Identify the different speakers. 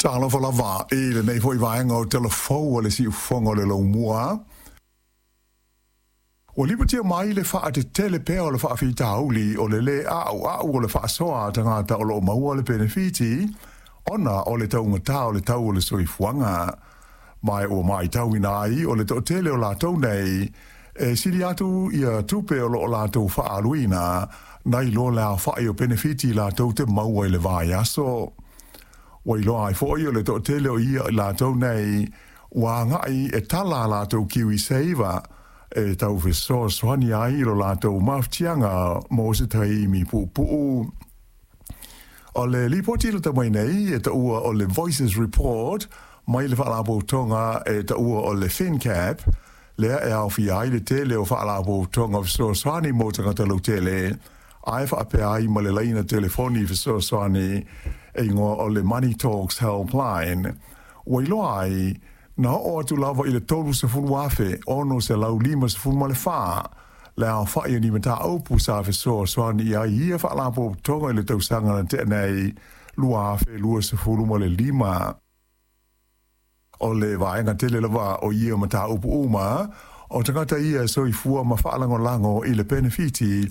Speaker 1: Talofa lava i lenei foi vaega o Tala Fou a le Siufofoga o le Laumua. Ua lipotia mai le faatetele pea o le faafitauli o le lē a'ua'u o le faasoa a tagata o loo maua le penefiti ona o le taugatā o le tau o le soifuaga. Ma ua matauina ai o le toatele o latou nei e sili atu ia tupe o loo latou faaaluina nai lo le aofa'i o penefiti latou te maua i le vaiaso. Ua iloa ai fo'i o le toatele o ia i latou nei ua aga'i e tala a latou KiwiSaver e tau fesoasoani ai i lo latou mafatiaga mo se taimi puupuu. O le lipoti lata mai nei e taua o le Voices Report mai le faalapotopotoga e taua o le FinCap, lea e aofia ai le tele o faalapotopotoga fesoasoani mo tagata lautele, ae faapea ai ma le laina telefoni fesoasoani e igoa o le Money Talks Helpline. Ua iloa ai, na oo atu lava i le 30,654 le aofa'i o ni mataupu sa fesoasoani i ai ia faalapotopotoga i le tausaga na tea nei 2025. O le vaega tele lava o ia mataupu uma, o tagata ia e soifua ma faalagolago i le penefiti.